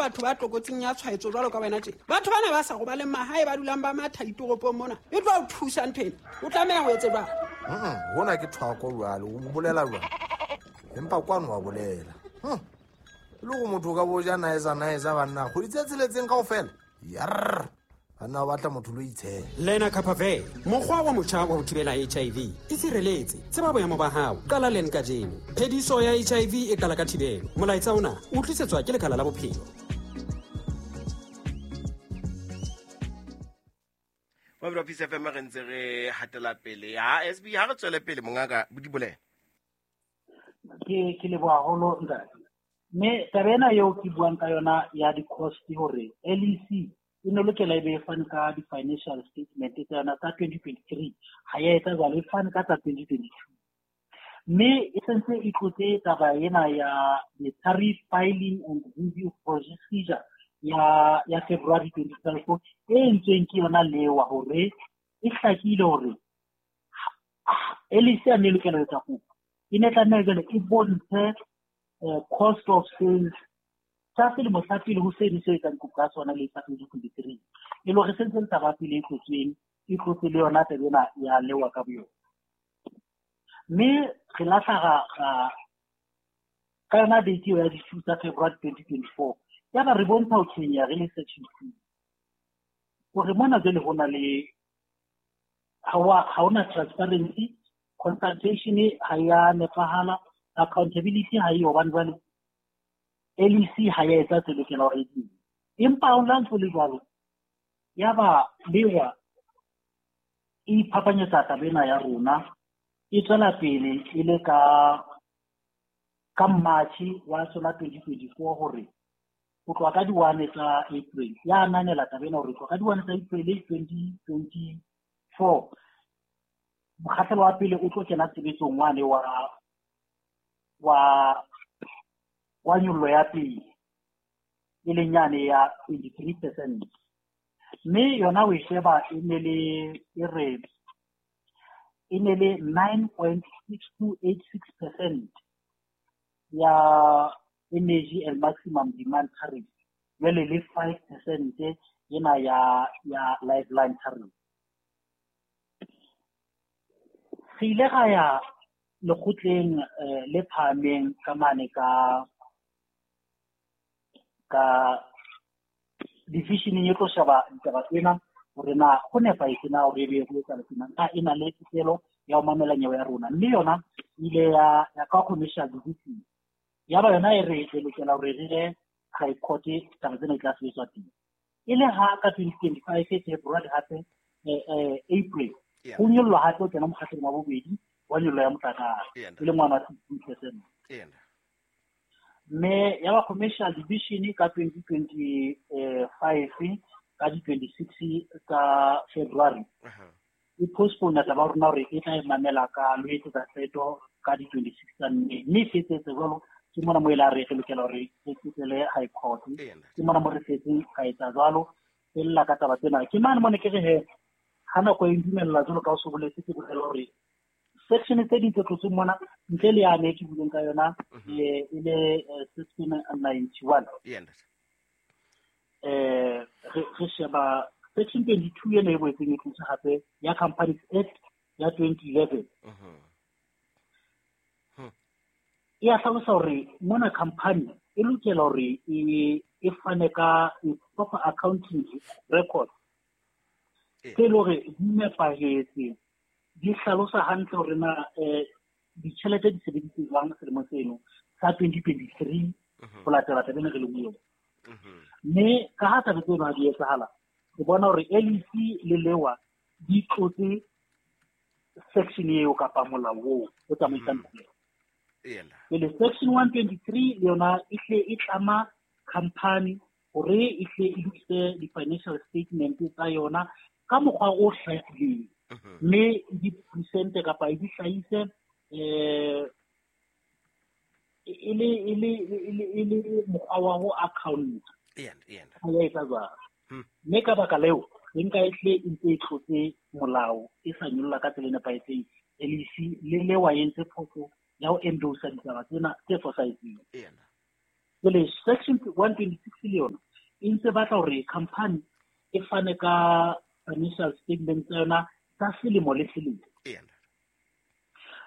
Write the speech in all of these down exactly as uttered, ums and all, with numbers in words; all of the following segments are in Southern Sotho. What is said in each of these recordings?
batho ba tlokotsing ya tshwaetso jwalo ka wena tje. Batho bana ba sa robaleng mahae ba dulang ba matha ditoropong mona. E tlo o thusa ntho ena. O tlameha ho etse jwang? Mm, hona ke thwako jwale, o bolela jwang? Empa kwano wa bolela. Hm. Le go motho ka boja naeza naeza banna go ditse tseletseng kaofela. Yarr. Banna ba batla motho lo itshela. Lena Kapave, mokgwa wa motjha wa ho thibela H I V. Itshireletse, tseba boemo ba hao. Qala len kajeno. Phediso ya H I V e qala ka thibelo. Molaetsa ona o tlisetswa ke Lekala la Bophelo. Wa Peace F M re ntse re hatela pele. Ha S B ha re tswele pele mongaka di bolela. Ke ke leboha haholo ntate. Mme taba ena eo ke buang ka yona ya di-cost hore L E C e ne lokela e be e fane ka di-financial statement tsa yona tsa twenty twenty-three, ha ya etsa jwalo, e fane ka tsa twenty twenty-two. Mme e sentse e tlotse taba ena ya the tariff filing and review procedure ya ya February twenty twelve e entsweng ke yona lewa hore e hlakile hore L E C a ne lokela ho etsa kopo. E ne tlameha jwale e bontshe cost of sales tsa selemo sa pele ho seno se etsang kopo ka sona le sa twenty twenty-three. E le hore sentse le taba pele e tlotsweng, e tlotse le yona taba ena ya lewa ka boyona. Mme re lahla ra ka yona date eo ya di-two tsa February twenty twenty-four. Yaba re bontsha ho tshwenya re le section two. Hore mona jwale ho na le ha hona transparency, consultation ha ya nepahala, accountability ha e hobane jwale L E C ha ya etsa tse lokela hore e di. Empa ho la ntho le jwalo, yaba lewa e iphapanyetsa taba ena ya rona, e tswela pele e le ka ka March wa sona twenty twenty-four hore ho tloha ka di-one tsa April ya ananela taba ena hore ho tloha ka di-one tsa April twenty twenty-four mokgahlelo wa pele o tlo kena tshebetsong wane wa wa wa nyollo ya pele e leng yane ya twenty-three percent. Mme yona o e sheba e ne le e re e ne le nine point six two eight six percent ya energy and maximum demand tariff, jwale le five percent ena ya ya lifeline tariff. Re ile ra ya lekgotleng le phahameng ka mane ka ka divisioneng e tlo sheba ditaba tsena hore na ho nepahetse na hore ebe ho etsahala tjena, na e na le tokelo ya ho mamela nyewe ya rona. Mme yona e ile ya ya ka commercial division, yaba yona e re re lokela hore re ye high court, taba tsena di tla sebetswa teng. E le ha ka twenty twenty-five February hape April ho nyollwa hape ho kena mokgahlelong wa bobedi wa nyollo ya motlakase e le ngwana wa sixteen percent. Mme ya ba commercial division ka twenty twenty-five ka di twenty-six tsa February e postpone taba rona hore e tla e mamela ka lo etsetsa qeto ka di twenty-six tsa May. Mme e fetsetse jwalo, ke mona mo e la re re lokela hore re kgutlele high court. Ke mona mo re fetseng ka etsa jwalo, e lla ka taba tsena. Ke mane mone ke re he ha nako e ntumella jwalo ka o so boletse, ke bolela hore section tse ding tse tlotsweng mona ntle le yane ke buileng ka yona e le section ninety-one. Eh re sheba section twenty-two ena e boetseng e tlotse hape ya Companies Act ya twenty eleven. E a hlalosa hore mona company e lokela hore e e fane ka proper accounting record tse le hore di nepahetse, di hlalosa hantle hore na ditjhelete di sebedisitswe jwang selemong seno sa twenty twenty-three ho latela taba ena re leng ho yona. Mme ka ha taba tseno ha di etsahala, re bona hore L E C le lewa di tlotse section eo kapa molao oo o tsamaisang kgwebo. Pele section one twenty-three le yona e hle e tlama company hore e hle e lokise di-financial statement tsa yona ka mokgwa o hlakileng, mme di presente kapa e di hlahise eh e le e le e le mokgwa wa ho account. Ha ya etsa jwalo. Mme ka baka leo re nka e hle e ntse e tlotse molao e sa nyolla ka tsela e nepahetseng. L E C le lewa e entse phoso ya ho endorsa ditaba tsena tse fosahetseng. Jwale section one twenty-six le yona e ntse batla hore company e fane ka financial statement tsa yona tsa selemo le selemo.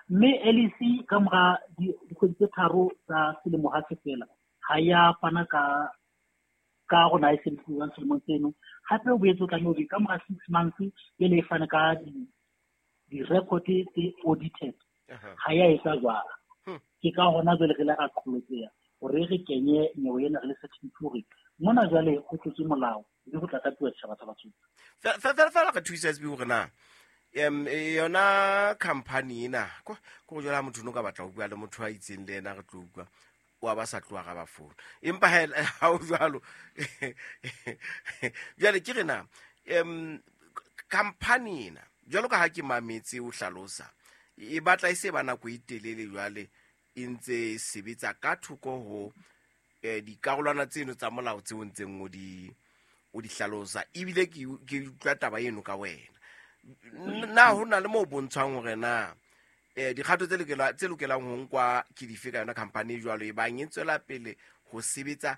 Mme L E C ka mora dikgwedi tse tharo tsa selemo ha se fela ha ya fana ka ka rona e sebediswang selemong seno. Hape o boetse o tlameha hore ka mora six months pele e fane ka di-record tse audited. Ha ya etsa jwalo. Ke ka hona jwale re le ra qholotseha hore re kenye nyewe ena re le section two hore mona jwale ho tlotswe molao mme ho tla tatuwa setjhaba sa Basotho. Fela fela re thusa S B hore na em yona company ena ko go jwala motho no ka batla ho bua le motho a itseng le yena re tlo utlwa wa ba sa tloha ga ba phone empa ha o jwalo jwale ke re na em company ena jwalo ka ha ke mametse o hlalosa e batla e se ba nako e telele jwale e ntse sebetsa ka thoko ho dikarolwana tseno tsa molao tseo ntseng o di o di hlalosa ebile ke ke utlwa taba eno ka wena na ho na le mo bontshang hore na eh dikgato tse lokela tse lokelang ho nkwa ke dife ka yona company jwalo e bang e tswela pele ho sebetsa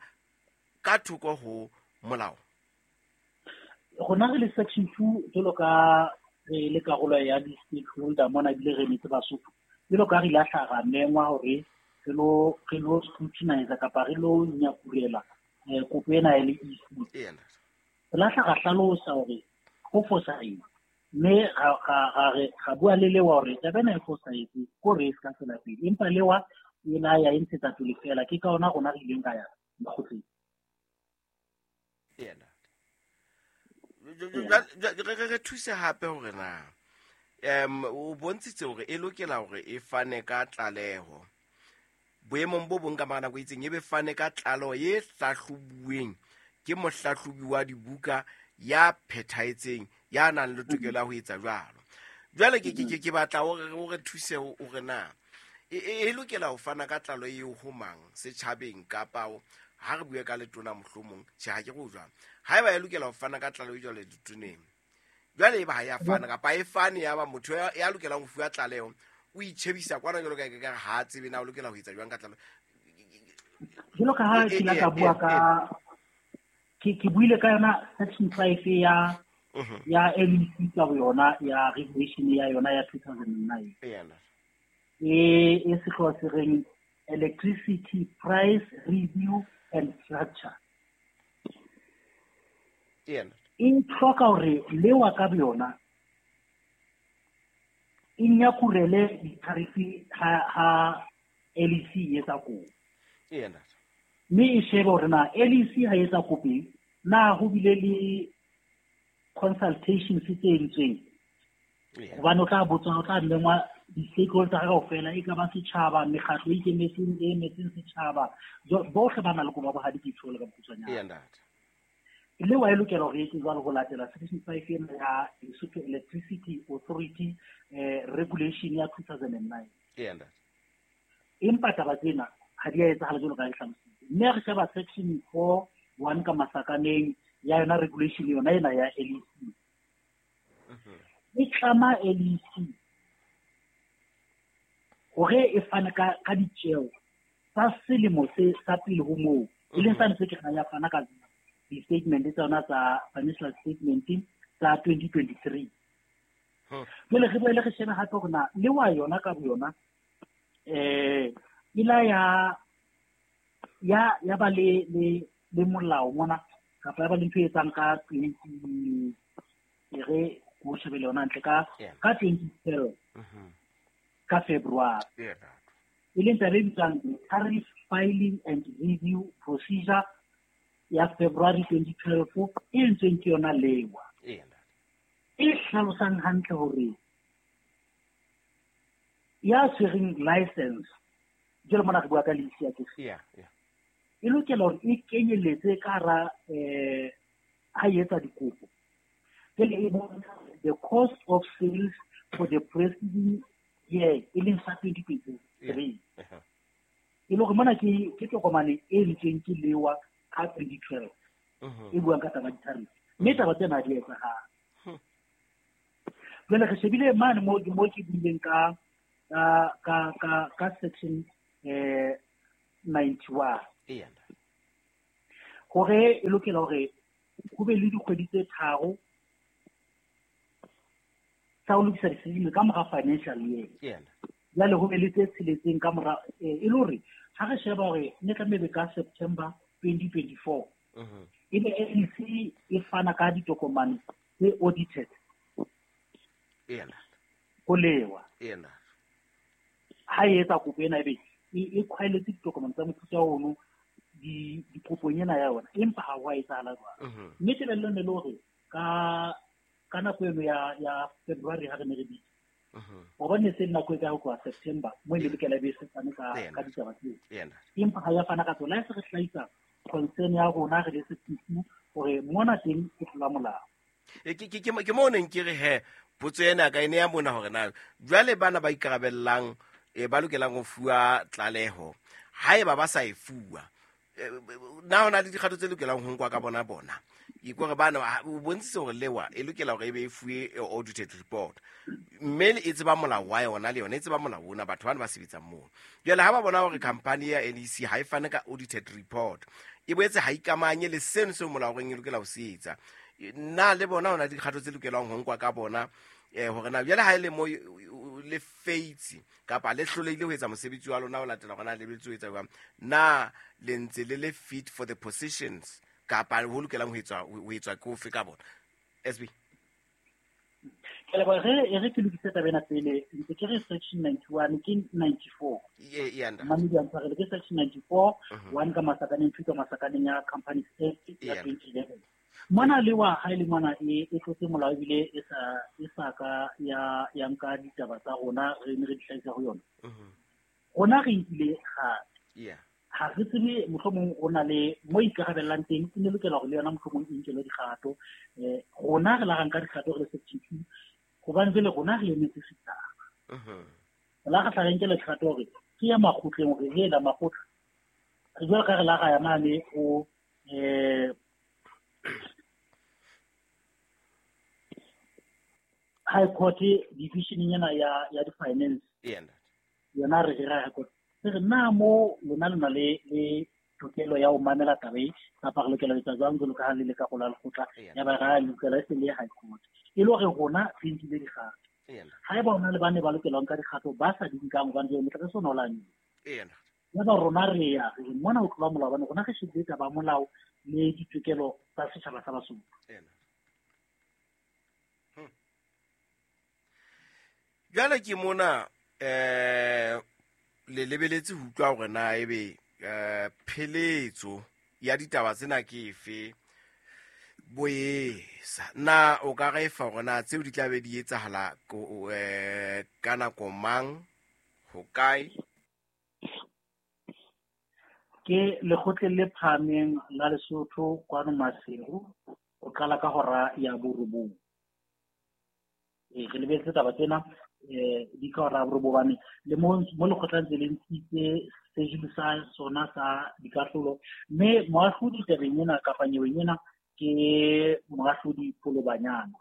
ka thoko ho molao. Rona re le section two jwalo ka re le karolo ya di-stakeholder mona ebile re emetse Basotho jwalo ka re ile hla ra mengwa hore re lo re lo scrutinize kapa re lo nyakurela kopo ena ya L E C. Re la hla ra hlalosa hore ho fosahetse mme ra re ra bua le lewa hore taba ena e fosahetse ko re e se ka tswela pele empa lewa e la ya e ntshetsa pele fela. Ke ka hona rona re ileng ra ya lekgotleng. Re thuse hape hore na em o bontshitse hore e lokela hore e fane ka tlaleho boemong bo bong ka mara nako e itseng e be fane ka tlaleho e hlahlobuweng ke mohlahlobi wa dibuka ya phethahetseng ya nang le tokelo ya ho etsa jwalo. Jwale ke ke ke batla hore o re thuse hore na e lokela ho fana ka tlaleho eo ho mang setjhabeng kapa ha re bue ka letona mohlomong tjhe ha ke go jwang haeba e lokela ho fana ka tlaleho jwale ditoneng jwale e ba ha ya fana kapa e fane ya ba motho ya lokelang ho fuwa tlaleho o itjhebisa kwana jwalo ka ka ha tsebe na o lokela ho etsa jwang ka tlaleho. Jwalo ka ha ke la ka bua ka ke ke buile ka yona section five ya ya L E C ka yona ya regulation ya yona ya two thousand nine. E e sehlooho se reng electricity price review and structure. E hloka hore lewa ka yona e nyakurele ditarifi ha ha L E C e etsa kopo. Mme e shebe hore na L E C ha e etsa kopo na ho bile le consultations tse entsweng hobane o tla botswa o tla mengwa di-stakeholder kaofela e ka ba setjhaba mekgatlo e ikemetseng e emetseng setjhaba bohle ba na le koba bohadi ke tsholo ka bokgutshwanyane. Le wa e lokela hore e etse jwalo ho latela section five ena ya Lesotho Electricity Authority eh, regulation ya two thousand nine. Empa taba tsena ha di a etsahala jwalo ka e hlalositse. Mme re sheba section four one ka masakaneng ya yona regulation yona ena ya L E C. E tlama L E C hore e fane ka ka ditjeo tsa selemo se sa pele ho moo e leng sane se ke ya fana ka di-statement tsa yona tsa financial statement tsa twenty twenty-three. Jwale re boele re shebe hape hore na le wa yona ka boyona eh e la ya ya ya ba le le le molao mona kapa ya ba le ntho e etsang ka twenty e re ko shebe le yona ntle ka ka twenty twelve ka February. E leng taba e bitswang tariff filing and review procedure ya February twenty twelve e entsweng ke yona lewa. E hlalosang hantle hore ya tshwereng license jwalo mona re bua ka lease ya ke e lokela hore e kenyelletse ka hara eh ha e etsa dikopo. Jwale e bontsha the cost of sales for the preceding year e leng sa twenty twenty-three. E le hore mona ke ke tokomane e entsweng ke lewa ka twenty twelve e buang ka taba di-tariff. Mme taba tsena di etsahala. Jwale re shebile mane mo mo ke buileng ka ka ka ka section eh ninety-one. Eya ntate. Hore e lokela hore ho be le dikgwedi tse tharo tsa ho lokisa di-statement ka mora financial year. Eya ntate. Jwale ho be le tse tsheletseng ka mora, e le hore ha re sheba hore ne tlameha ka September twenty twenty-four. Mhm. Ebe L E C e fana ka ditokomane tse audited. Eya ntate. Ho lewa. Eya ntate. Ha e etsa kopo ena ebe e khwaeletse ditokomane tsa mofuta ono di dikopong ena ya yona, empa ha ho a etsahala jwalo. Mme tebello ne le hore ka ka nako eno ya ya February ha re ne re bitsa, hobane se nako e ka ho tloha September mo e lokela be se fane ka ka ditaba tseo. Empa ha ya fana ka tsona, se re hlahisa concern ya rona re le S P C hore mona teng e tlola molao. E ke ke ke mo neng ke re he potso ena ka ene ya mona hore na jwale bana ba ikarabellang e ba lokelang ho fuwa tlaleho haeba ba sa e fuwa, na hona le dikgato tse lokelang ho nkwa ka bona bona e kore bana o bontshitse hore lewa e lokela hore e be e fuwe audited report, mme e tseba molao wa yona le yona e tseba molao ona batho bana ba sebetsang moo. Jwale ha ba bona hore company ya L E C ha e fane ka audited report, e boetse ha ikamanye le seno seo molao reng e lokela ho se etsa, na le bona hona dikgato tse lokelang ho nkwa ka bona eh hore na jwale ha ile mo le feitse kapa le hlolehile ho etsa mosebetsi wa lona o latela hore na lebeletse ho etsa jwang, na le ntse le le fit for the positions kapa ho lokelang ho etswa ho etswa ke ofe ka bona? S B. Ke leboha re e re ke lokise taba ena pele, ntse ke re section ninety-one ke ninety-four. Ye ye nda. Mamedi a ntshwarele ke section ninety-four, one ka masakaneng, two ka masakaneng ya Companies Act ya twenty eleven. Mona le wa ha ile mona e e tlotse molao ebile e sa e sa ka ya ya nka ditaba tsa rona re ne re di hlahisa ho yona. Rona re nkile kgato. Yeah. Ha re tsebe mohlomong o na le mo ikarabellang teng, e ne lokela hore le yona mohlomong e nkelwe dikgato. Eh rona re la ra nka dikgato re le section two hobane jwale rona re emetse setjhaba. Mhm. La re tla re nkela dikgato hore ke ya makgotleng hore re la makgotla. Re jwale ka re la ra ya mane o eh High Court division ena ya ya di-finance. Yeah. Yona re re High Court. Re na mo lona lona le le tokelo ya ho mamela taba e kapa re lokela ho etsa jwang jwalo ka ha le le ka gola lekgotla ya ba ra lokela e se le High Court. E le hore rona re nkile dikgato. Haeba hona le bane ba lokelang ka dikgato ba sa di nkang hobane jwale motlakase ona o la Yeah. Ya ba rona re ya re mona ho tlola molao hobane rona re shebile taba molao le ditokelo tsa setjhaba sa Basotho. Yeah. Jwale ke mona eh le lebeletse ho utlwa hore na ebe eh pheletso ya ditaba tsena ke efe boesa, na o ka re fa hore na tseo di tla be di etsahala eh ka nako mang ho kae? Ke lekgotleng le phahameng la Lesotho kwano Maseru ho qala ka hora ya borobong. E re lebeletse taba tsena eh di ka hora ya borobong hobane le mo mo lekgotla ntse le ntshitse sejulu sa sona sa dikahlolo, mme moahlodi tabeng ena kapa nyeweng ena ke moahlodi Polobanyana.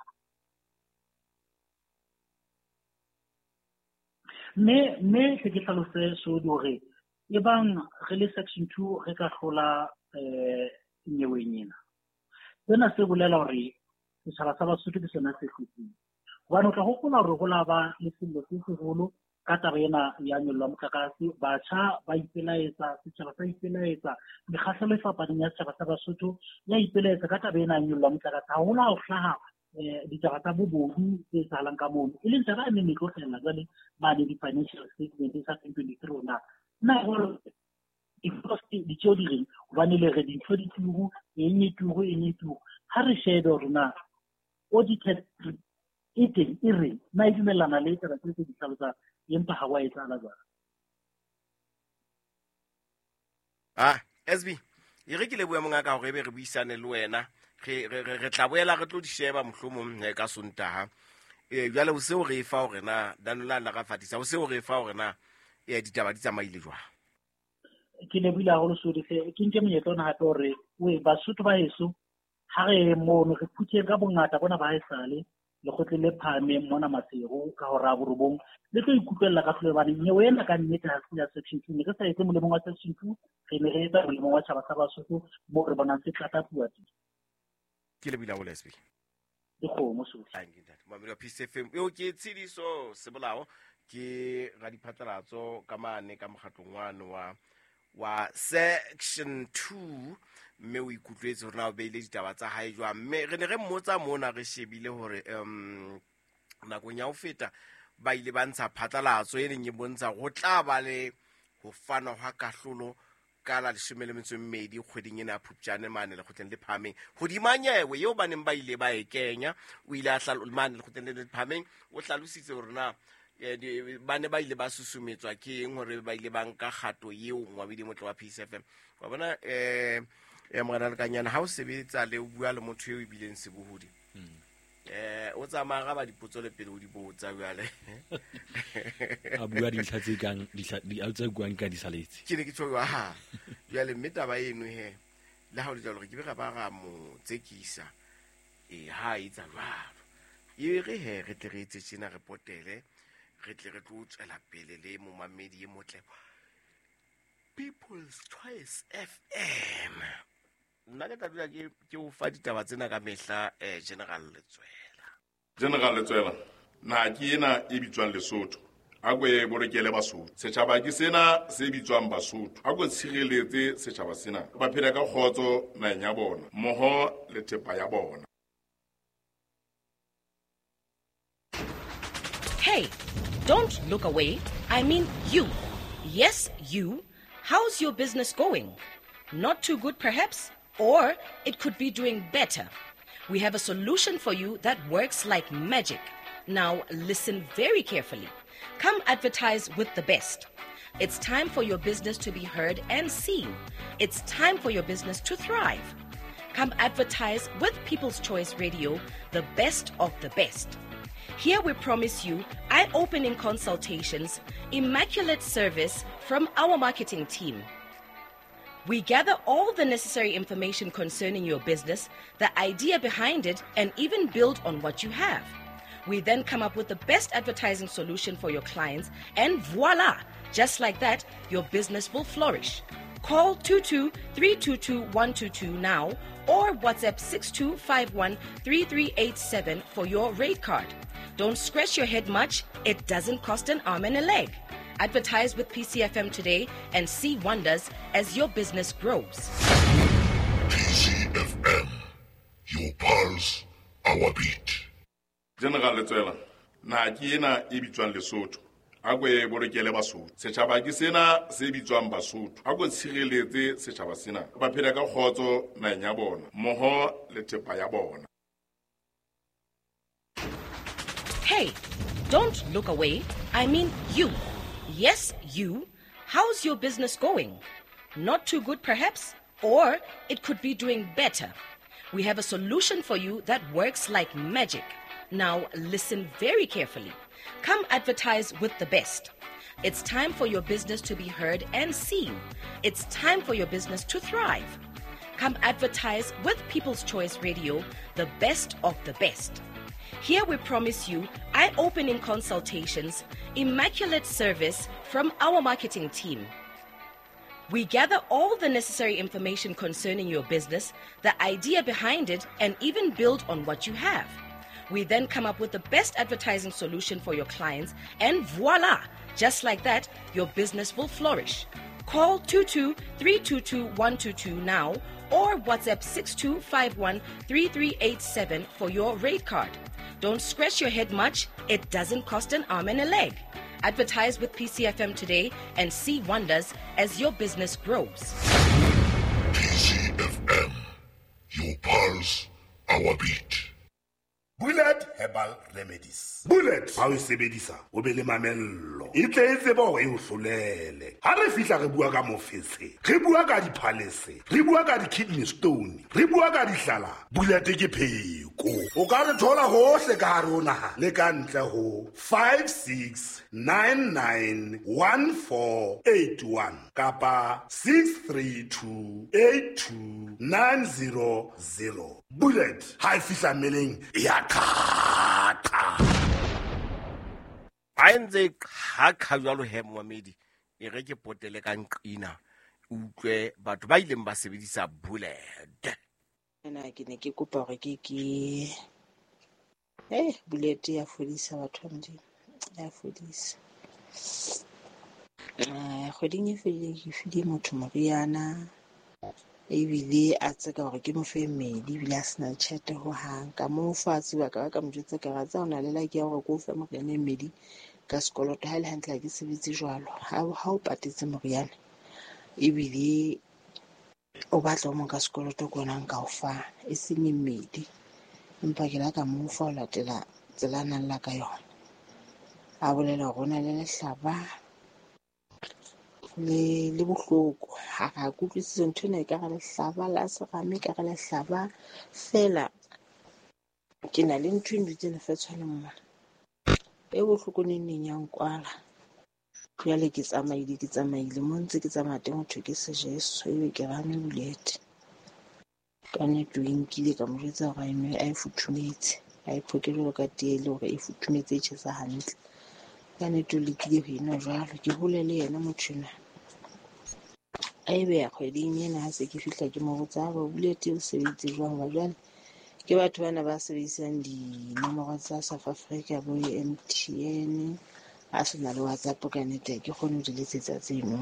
Mme mme ke ke hlalose sodi hore e bang re le section two re ka hlola eh nyeweng ena, sena se bolela hore setjhaba sa Basotho ke sona se hlotseng. Hobane o tla hopola hore ho la ba le sello se seholo ka taba ena ya nyollo ya motlakase, batjha ba ipelaetsa, setjhaba sa ipelaetsa, mekgahlelo e fapaneng ya setjhaba sa Basotho ya ipelaetsa ka taba ena ya nyollo ya motlakase. Haholo ha ho hlaha eh ditaba tsa bobodu tse etsahalang ka mono, e leng taba e neng e tlo hlahella jwale mane di-financial statement tsa twenty twenty-three rona. Nna jwalo ditjeo di reng hobane le re dintho di turu, eng e turu, eng e turu. Ha re shebe hore na audited e teng e reng, na e dumellana le taba tse tse di hlalosang, empa ha wa etsahala jwalo. Ah, S B, e re ke lebohe mongaka hore ebe re buisane le wena. Re re re tla boela re tlo di sheba mohlomong ka Sontaha. Eh jwale o seo re fa hore na Danola la ra fatisa, o seo re fa hore na eh ditaba di tsamaile jwang. Ke lebohile haholo Sodi, ke nke monyetla ona hape hore we Basotho ba heso ha re mono re phutheng ka bongata bona ba haesale lekgotleng le phahameng mona Maseru ka hora ya borobong le tlo ikutlwella kahlolo hobane nyewe ena ka nnete ha se ya section two. Ne re sa etse molemong wa section two, re ne re etsa molemong wa tjhaba sa Basotho moo re bonang se tlatlapuwa teng. Ke lebile haholo S B. Dikgomo sohle. Thank you, ntate. Momamedi wa P C F M, eo ke Tshidiso Sebolao, ke radiphatlalatso ka mane ka mokgatlong wane wa, wa section two, mme o ikutlwetse hore na o beile ditaba tsa hae jwang. Mme re ne re mmotsa mona re shebile hore, um, nakong ya ho feta ba ile ba ntsha phatlalatso e neng e bontsha ho tla ba le ho fanwa hwa kahlolo ka la leshome le metso e mmedi kgweding ena ya Phupjane mane lekgotleng le phahameng. Hodima nyewe eo ba neng ba ile ba e kenya, o ile a hlalo-, mane lekgotleng le le phahameng, o hlalositse hore na, eh, di-, ba ne ba ile ba susumetswa ke eng hore ba ile ba nka kgato eo Ngwabidi Motle wa P C F M. Wa bona, eh, eh, Morena Lekanyana, ha o sebetsa le o bua le motho eo e bileng sebohodi, Hmm. eh, o tsamaya ga ba dipotso le pele o di botsa jwale. A bua dintlha tse kang, ditlha, di, a tse buang ka di saletse. Ke ne ke tjho, ha. Jwale mme taba eno he, le ha o le jwalo, re ke be ra ba ra mo tsekisa. E, ha e etsa jwalo. E re he, re tle re etse tjena, re potele, re tle re tlo tswela pele le momamedi e motle. People's Choice F M. Nna ke tla dula ke, ke o fa ditaba tsena ka mehla, eh, General Letsoela. General Letsoela, naha ke ena e bitswang Lesotho. A ko e bolokele Basotho. Setjhaba ke sena se bitswang Basotho. A ko tshireletse setjhaba sena. Ba phela ka kgotso naheng ya bona, mmoho le thepa ya bona. Hey, don't look away. I mean you. Yes, you. How's your business going? Not too good, perhaps? Or it could be doing better. We have a solution for you that works like magic. Now listen very carefully. Come advertise with the best. It's time for your business to be heard and seen. It's time for your business to thrive. Come advertise with People's Choice Radio, the best of the best. Here we promise you eye-opening consultations, immaculate service from our marketing team. We gather all the necessary information concerning your business, the idea behind it, and even build on what you have. We then come up with the best advertising solution for your clients, and voila! Just like that, your business will flourish. Call two two three two two one two two now or WhatsApp six two five one three three eight seven for your rate card. Don't scratch your head much. It doesn't cost an arm and a leg. Advertise with P C F M today and see wonders as your business grows. P C F M, your pulse, our beat. General Letsoela, naha ke ena e bitswang Lesotho. A ko e bolokele Basotho. Setjhaba ke sena se bitswang Basotho. A ko tshireletse setjhaba sena. Ba phela ka kgotso naheng ya bona, mmoho le thepa ya bona. Hey, don't look away. I mean you. Yes, you. How's your business going? Not too good, perhaps? Or it could be doing better. We have a solution for you that works like magic. Now listen very carefully. Come advertise with the best. It's time for your business to be heard and seen. It's time for your business to thrive. Come advertise with People's Choice Radio, the best of the best. Here we promise you eye-opening consultations, immaculate service from our marketing team. We gather all the necessary information concerning your business, the idea behind it, and even build on what you have. We then come up with the best advertising solution for your clients, and voila! Just like that, your business will flourish. Call two two three two two one two two now or WhatsApp six two five one three three eight seven for your rate card. Don't scratch your head much. It doesn't cost an arm and a leg. Advertise with P C F M today and see wonders as your business grows. P C F M, your pulse, our beat. Bullet Herbal Remedies. Bullet ha o e sebedisa o be le mamello. E tle e tsebe hore e o hlolele. Ha re fihla re bua ka mofetshe, re bua ka diphalese, re bua ka di-kidney stone, re bua ka dihlala. Bullet ke pheko. O ka re thola hohle ka hare ho naha le ka ntle ho five six nine nine one four eight one kapa six three two eight two nine zero zero. Bullet ha e fihla mmeleng e ya qha qha. A ntse qha qha jwalo he momamedi, e re ke potele ka nqina utlwe batho ba ileng ba sebedisa bullet. Nna ke ne ke kopa hore ke ke eh bullet ya fodisa batho ba Modimo, ya fodisa. Eh kgweding e fetileng ke file motho moriana, ebile a tseka hore ke mo fe mmedi, ebile a sena tjhelete hohang. Ka mo fa tseba ka ba ka mo jwetsa ka re tsa o na le luck ya hore ke o fe moriana e mmedi ka sekoloto. Ha e le hantle ha ke sebetse jwalo. Ha ha o patetse moriana ebile o batla o mong ka sekoloto ke ona nka o fa, e seng e mmedi. Empa ke la ka mo fa ho latela tsela a nang la ka yona. A bolela hore o na le lehlaba le le bohloko. Ha ra kutlwisisa ntho ena, ekare lehlaba la serame, ekare lehlaba feela. Ke na le ntho e ndutseng lefatshwaneng mona e bohloko neng neng ya nkwala. Jwale ke tsamaile ke tsamaile mo ntse ke tsamaya teng ho thwe ke sejeso, ebe ke re a nwe bullet. Ka nnete o e nkile ka mo jwetsa hore a e nwe a e futhumetse, a e phoke jwalo ka tee le hore e futhumetse e tjhesa hantle. Ka nnete o lekile ho e nwa jwalo, ke hole le yena motho enwa. A e beha kgweding ena ha se ke fihla ke mo botsa hore bullet o sebeditse jwang hoba jwale ke batho bana ba sebedisang dinomoro tsa South Africa bo M T N, a sena le WhatsApp ka nnete ha ke kgone ho di letsetsa tseno.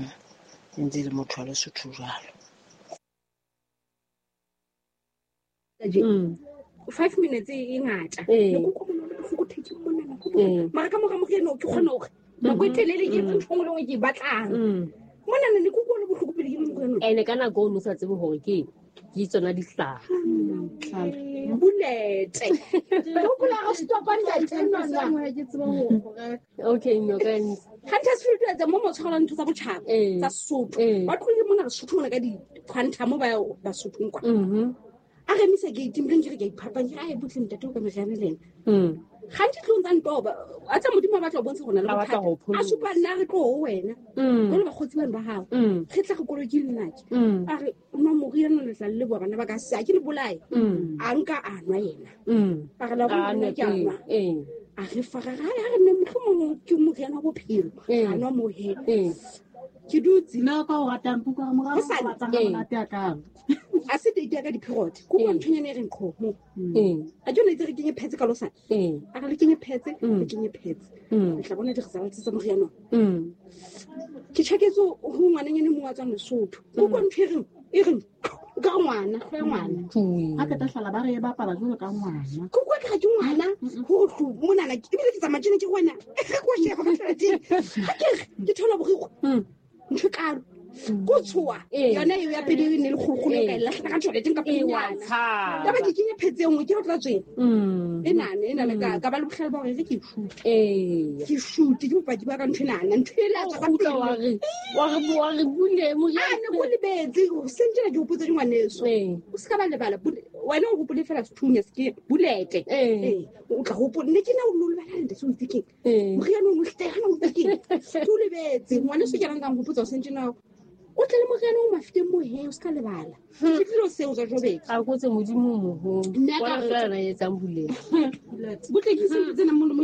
E ntse e le motho wa Lesotho jwalo. Mm. Five minutes e ngata. Ee. Ne ke utlwa monate bohloko thekeng mona, nako Ee. mara ka mora moriana o ke kgona hore nako e telele ke etse ntho e nngwe le e nngwe ke e batlang. Mm. Mona ne ke utlwa le bohloko pele ke nwe moriana o. Ene ka nako o no sa tsebe hore ke ke tsona dihlahla. Bullet. Ke hopola re stopa ntate enwa. Ke tseba ho reka. Okay, no ka ntse. Huntersfield tsa mo mo tshwarang ntho tsa botjhaba Ee. tsa Sesotho. Ee. Ba tlohile mona Lesotho mona ka di-quantum ba ya Basothong kwa. Mhm. A re emisa gate mpe nke re ke a iphapanya, ai butle ntate o ka meriana le ena. Mm. Gantsi tlong tsa ntoba, a tsa Modimo a batla ho bontsha hore o na le A batla bothata. ho pholosa. A supa nna re tlo ho wena. Mm. Jwale bakgotsi bano ba hao. Mm. Re tla re koloi ke nna ke. Mm. A re nwa moriana le tla le leboha bana ba ka se, ha ke le bolaye. Mm. A nka a nwa yena. Mm. A re la A bona nwe ke a pele. nwa. Ee. A re fa re re, ha re nne mohlomong ke moriana wa bophelo. Ee. A nwa mohe. Ee. Ke dutse. Nna ka o ratang kuka ha morao Hosane. o batlang ha Ee. monate a kang. A se date ya ka di-period. Ke utlwa Ee. nthonyana e reng qhomo. Ee. A ke yona itse re kenye pads ka losane. Ee. A re le kenye pads, Mm. le kenye pads. Mm. Le tla bona di-results tsa moriana ona. Mm. Ke tjhaketse ho ngwananyana e mong wa tswang Lesotho. Ke utlwa ntho e reng, e reng, o ka re ngwana, hlooho ya ngwana. Tjui. Ha qeta hlala ba re e bapala jwalo ka ngwana. Ke utlwa ke re ke ngwana, hore hlo monana, ebile ke tsamaya tjena ke re wena, ge ke o sheba ka tjheleteng. Ha ke re, ke thola borikgwe. Mm. Ntho e kalo. Ko tshoha. Ee. Yona eo ya pele e ne le kgolokgolo e ka e lahlela ka tjheleteng ka Ee, wa pelenyana. tshaba. Yaba ke kenya phetse e nngwe, ke ho tla tsweng. Mm. E nane, e nane ka, ka ba le bohlale ba hore re ke shoot. Ee. Ke shoot, ke bopaki ba ka ntho enana, ntho e la tswa ka Kgutla pele. wa re, wa re, wa re bule moriana. A ne ko lebetse, hoseng tjena ke hopotse di ngwaneso. Ee. O se ka ba lebala, bule-, wena o hopole fela sethunya se ke bulete. Ee. Ee, o tla hopola, ne ke na o lo lebala ntate, o itse keng? Ee. Moriana o no hle, hana o itse keng? Ke o lebetse, ngwaneso ke rang ka nhopotsa hoseng tjena, o tle le moriana o mafiteng mo he, o se ka lebala. Ke tlilo seo tsa Joburg. A kotse Modimo o moholo. Nna ka Bona re- feela na etsang bulete. Butle ke se tsena mo mo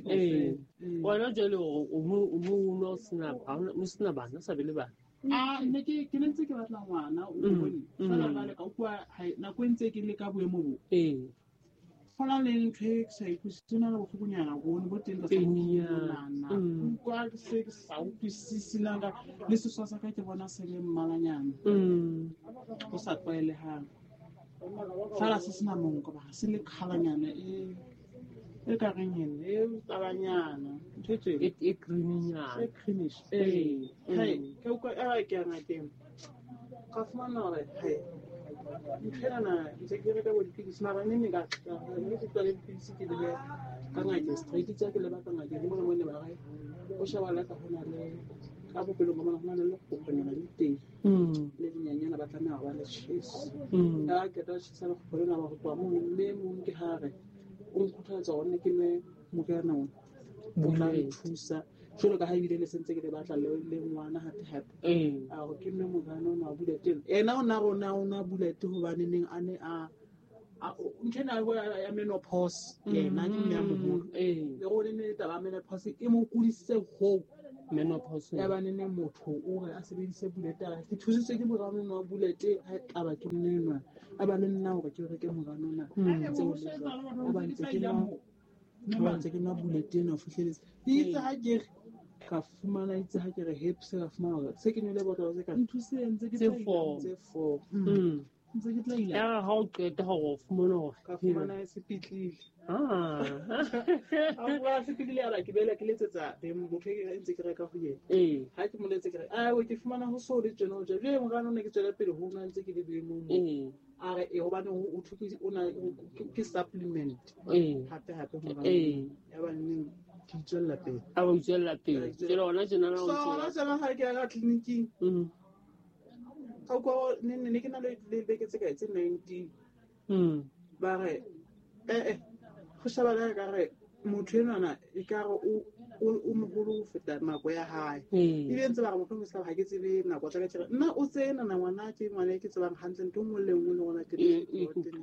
Ee. Wena jwale o o mo o mo o nwa o sena ha ona o sena bana, o sa be le bana. Ah, ne ke ke ne ntse ke batla ngwana, o Mm, bone. mm. Feela jwale ka utlwa ha- nako e ntse ke le ka boemo bo. Ee. Ho na le ntho e ke sa ikutlwisise, ho na le bohlokonyana bone bo teng tlasa Peninyana. monana. Mm. Ke utlwa ke se ke sa utlwisise na ka le seswa sa ka ke bona se le mmalanyana. Mm. O sa tlwaelehang. Feela se sena monko, ba se le colour-nyana e e ka reng eng, e tabanyana. Ntho e tjena. E, e creamy-nyana. E creamish. Ee. Ee. Hai, Mm. ke utlwa e ke ya ngakeng. Ka fumana hore, hai, ntho enana ntse ke reka bo dipidisi, mara neng neng ka ka mme ke tloha le dipidisi ke lebe ka ngakeng straight, tsa ke leba ka ngakeng, ke mona mo ne ba re, o sheba le ka hona le ka bophelong ba mona hona le lekgokgonyana le teng. Mm. Le lenyenyana ba tlameha ho ba le tjhese. Mm. Ha qeta ho tjhesa lekgokgo lena ba re tloha mono, mme e mong ke ha re, o nkgothaletsa hore nne ke nwe moriana ona. O tla Bulete. nthusa. Jwalo ka ha ebile ne sentse ke le batla le, le ngwana hape hape. Ee. A re ke nwe moriana ona wa bulete ena. Yena o na re o na o nwa bulete hobane neng a ne a, Ntho ena ya menopause yena ke mme a moholo le gore ne taba ya menopause e mo kudisitse hoo menopause ya ba nene motho o re a sebedise bulete a ke thusitswe ke morano wa bulete ha taba ke nnenwa a ba le nna hore ke reke morano ona ntse o le jwalo a ba ntse ke nwa ba ntse ke nwa bulete ena ho fihleletse itse ha ke re ka fumana itse ha ke re hips ka fumana hore se ke nwele botlolo tse ka nthusitse ntse ke Tse four. tse four Mm. ntse ke tla ila Ya re ha o qeta hore o fumane hore ka fumana e sepetlele Ah. a bua sepetlele a ba ke bela ke letsetsa beng motho e ke ntse ke reka ho yena ee ha ke mo letse ke re a ke fumana ho so le tjena o tje jwale morano ne ke tswela pele ho nwa ntse ke le boemong bo ee a re e hobane o thwe o na ke supplement ee hape hape morano ee ya ba neng ke itswella pele a ba itswella pele jwale hona tjena na o so ntse hona tjena ha ke ya ka tleliniking Mm. ka utlwa ne ne ke na le le beke tse kae tse nineteen Mm. ba re eh eh go sheba le ka re motho enwana e ka re o o moholo ho feta nako ya hae Ee. ebile ntse ba re motho o se ha ke tsebe nako tsa ka ke re nna o tsena na ngwana ke ngwana e ke tsebang hantle ntho e nngwe le nngwe le ngwana ke Ee,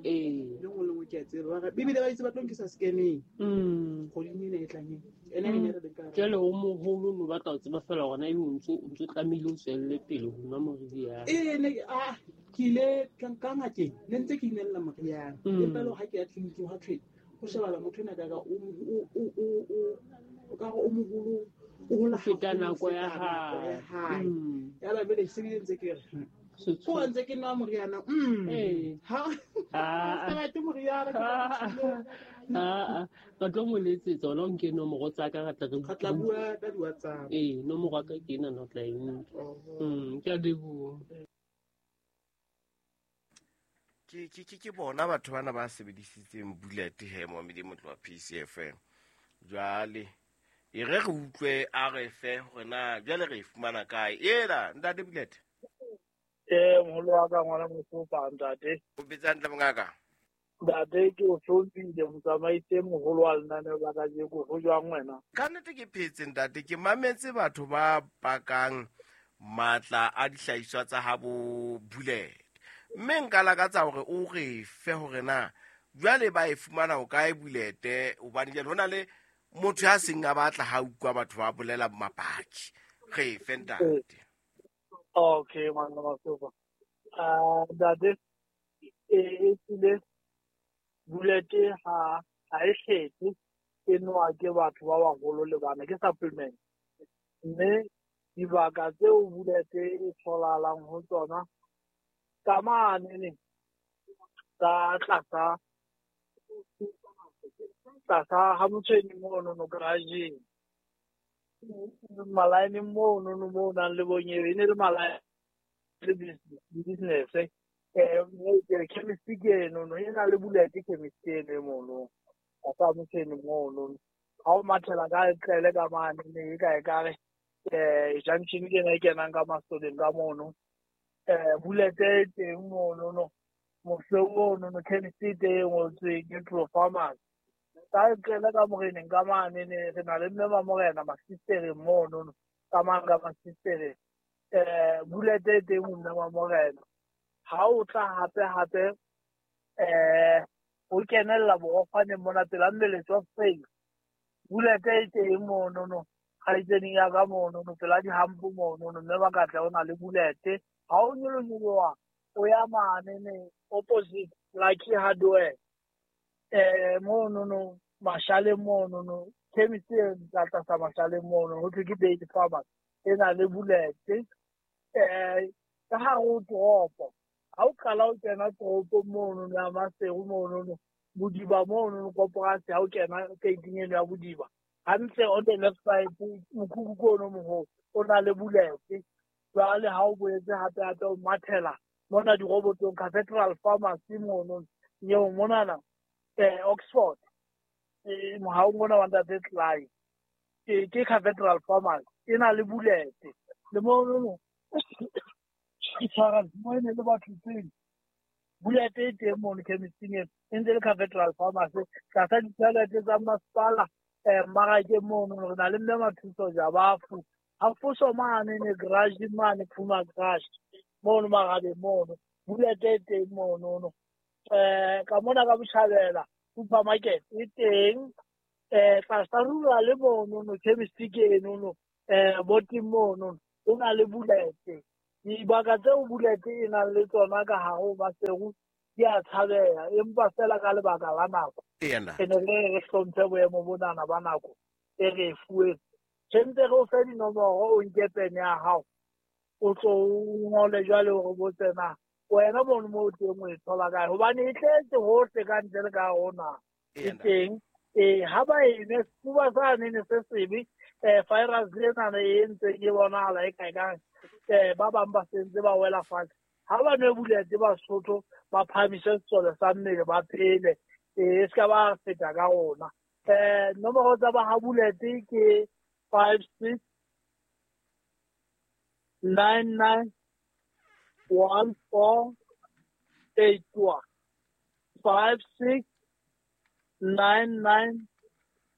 ee. le nngwe le nngwe ke a tseba ba re ebile ba itse ba tlo nkisa scanning Mm. kgweding ena e tlang ena ena e ne re le ka jwale o moholo no batla ho tseba fela hore na ebe o ntso o ntso tlamehile o tswelle pele ho nwa moriana ee ne ah ke ile ka ka ngakeng ne ntse ke inella moriana Mm. empa le ha ke ya tleliniking hwa thwe ho shebala motho ena ka ka o o o o o ka re o moholo o hola Ho feta haholo ho nako ya feta nako ya hae. hae Mm. ya ba jwale se bile ntse ke re Setho- ko ntse ke nwa moriana mm Ee. ha Ah. se batle moriana ke Ah, ah, ah. Ka tlo mo letsetsa ona o nke nomoro tsa ka re tla re re tla bua ka di-WhatsApp ee nomoro ya ka ke ena na o tla e nka Mm, ke a leboha ke ke ke ke bona batho bana ba sebedisitseng bullet he momedi motlo wa P C F M jwale e re re utlwe a re fe hore na jwale re e fumana kae ela ntate bullet ee moholo wa ka ngwana Mosopa ntate o betsa hantle mongaka ntate ke o hlomphile motsamaisi e moholo wa lenaneo la kajeko ho jwang wena ka nnete ke phetse ntate ke mametse batho ba pakang matla a dihlahiswa tsa habo bullet mme nka lakatsa hore o re fe hore na jwale ba e fumana ho kae bulete hobane jwale ho na le motho ya seng a batla ha utlwa batho ba bolela mapaki re fe ntate okay ngwana Mosopa ah ntate e e tlile bulete ha ha e kgethe e nowa ke batho ba baholo le bana ke supplement mme dibaka tseo bulete e tholahalang ho tsona ka mane ne ka tlasa tlasa ha motshweni mono no garage malaene mono no mo nang le bonyebe e ne le malaene le business eh ke chemist ke eno no e na le bulete chemist eno e mono tlasa motshweni mono ha o mathela ka tlele ka mane ne e ka e ka re eh junction ke ena e kenang ka masoleng ka mono eh bulete e teng mono no moseo ono no chemist e teng e ngotsweng ke Pro Farmers ka tlele ka moreneng ka mane ne re na le mme ba morena masistereng mono no ka mane ka masistereng eh bulete e teng ho mme wa morena ha o tla hape hape eh o kenella borokgwaneng mona pela mmeletso wa Faith bulete e teng mono no kgaitseding ya ka mono no pela dihampo mono no mme ba ka tla o na le bulete ha o nyolonyoloha o ya mane ne opposite Lucky Hardware eh mono no Mashaleng mono no chemist e tla tlasa Mashaleng mono ho thwe ke Daily Farmers e na le bulete eh ka hare ho toropo ha o qala o kena toropong mono no ya Maseru mono no Bodiba mono no koporasi ha o kena gating eno ya Bodiba hantle on the left side mokhukhu ke ono moholo o na le bulete jwale ha o boetse hape hape o mathela mona dirobotong Cathedral Pharmacy mono eo monana eh Oxford eh mohaong ona wa ntate Clive ke ke Cathedral Pharmacy e na le bulete le mono no tshwara mo e ne le batho pele bulete e teng mono chemisting eno e ntse le Cathedral Pharmacy tlasa ditjhelete tsa masepala eh mmarakeng mono re na le mme Mathuso Jabafu ha foso mane ne garage mane Puma garage mono Magabe mono bulete e teng mono no Eh ka mona ka Botjhabela supermarket e teng, eh tlasa rula le mono no chemist ke eno no eh boting mono o na le Bullet. Dibaka tseo Bullet e nang le tsona ka hare ho Maseru di a tshabeha, empa fela ka lebaka la nako re ne re re hlomphe boemo bonana ba nako e re e fuweng. Tshwantse re o fe dinomoro, o nke pene ya hao, o tlo o ngole jwale hore botse na wena mono mo o teng o e thola kae, hobane e tletse hohle ka ntle le ka hare ho naha e teng. Ee, ha ba e nwe sefuba sane ne se sebe, um virus enana e ntseng e bonahala e kae kae, um ba bang ba sentse ba wela fatshe. Ha ba nwe Bullet Basotho, ba phahamise sesole sa mmele, ba phele, ee e se ka ba feta ka rona. Um nomoro tsa ba ha Bullet ke five six nine nine one four eight one, five six nine nine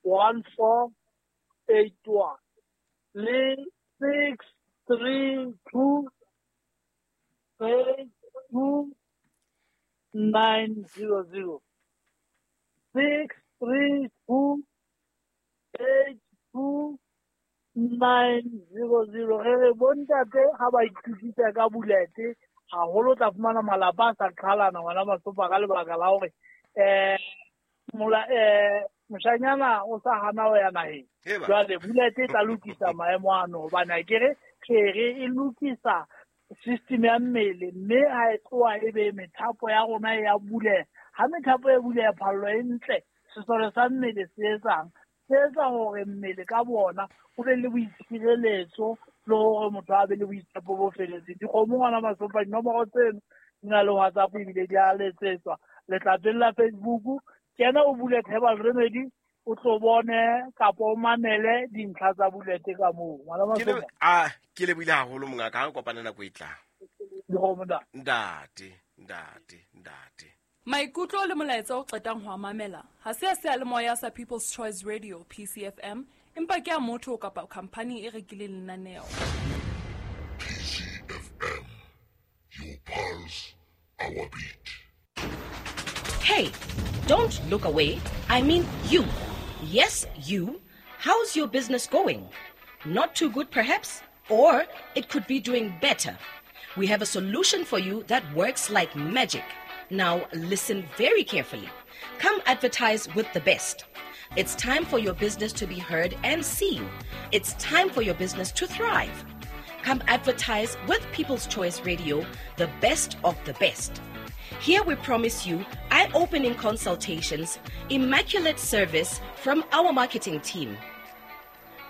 one four eight one, le six three two eight two nine zero zero, six three two eight two nine zero zero. Re re bontate ha ba ithutisa ka Bullet haholo, tla fumana malapa a sa qhalana ngwana Masopa ka lebaka la hore eh mola eh moshanyana o sa hana ho ya naheng. Jwale Bullet e tla lokisa maemo ano, hobane akere kere e lokisa system ya mmele, mme ha e tloha e be methapo ya rona e ya buleha. Ha methapo e buleha, phallo e ntle, sesole sa mmele se etsang, se etsa hore mmele ka bona o be le boitshireletso le hore motho a be le boitshepo bo feletseng. Dikgomo ngwana Masopa, dinomoro tseno di na le WhatsApp ebile di a letsetswa. Letlapeng la Facebook, kena o Bullet Herbal Remedy, o tlo bone kapa o mamele dintlha tsa Bullet ka moo. Ngwana Masopa, a ke lebohile haholo mongaka, ha re kopane nako e tlang. Dikgomo ntate. Ntate, ntate, ntate. Maikutlo le molaetsa o qetang ho a mamela ha se a seyalemoya sa People's Choice Radio P C F M, empa ke a motho kapa khampani e rekileng lenaneo. P C F M, your pulse, our beat. Hey, don't look away. I mean you. Yes, you. How's your business going? Not too good perhaps, or it could be doing better. We have a solution for you that works like magic. Now listen very carefully. Come advertise with the best. It's time for your business to be heard and seen. It's time for your business to thrive. Come advertise with People's Choice Radio, the best of the best. Here we promise you eye-opening consultations, immaculate service from our marketing team.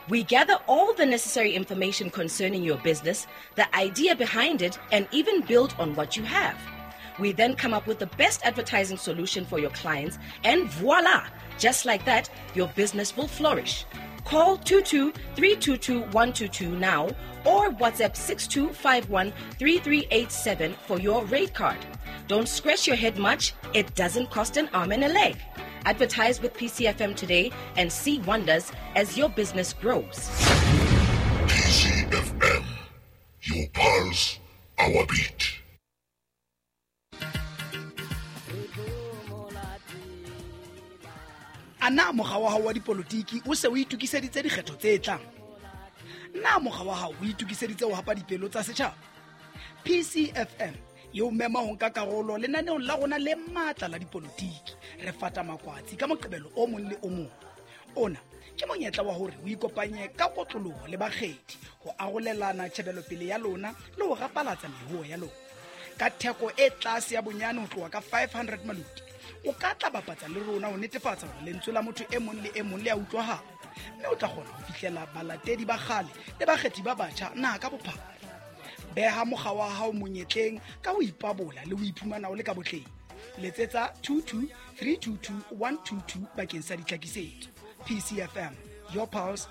We gather all the necessary information concerning your business, the idea behind it, and even build on what you have. We then come up with the best advertising solution for your clients, and voila! Just like that, your business will flourish. Call two two three two two one two two now or WhatsApp six two five one three three eight seven for your rate card. Don't scratch your head much. It doesn't cost an arm and a leg. Advertise with P C F M today and see wonders as your business grows. P C F M, your pulse, our beat. A na mokga wa hao wa dipolotiki o se o itokiseditse dikgetho tse tlang? Na mokga wa hao o itokiseditse ho hapa dipelo tsa setjhaba? P C F M e o mema ho nka karolo lenaneong la rona le matla la dipolotiki. Re fata makwatsi ka Moqebelo o mong le o mong. Ona ke monyetla wa hore o ikopanye ka kotloloho le bakgethi ho arolelana tjhebelopele ya lona le ho rapalatsa mehuo ya lona. Ka theko e tlase ya bonyane ho tloha ka five hundred maloti, o ka tla bapatsa le rona ho netefatsa hore lentswe la motho e mong le e mong le a utlwahala, mme o tla kgona ho fihlela balatedi ba kgale le bakgethi ba batjha naha ka bophara. Beha mokga wa hao monyetleng ka ho ipabola le ho iphumana o le ka botleng. Letsetsa two two three two two one two two bakeng sa ditlhakisetso. P C F M, your pulse,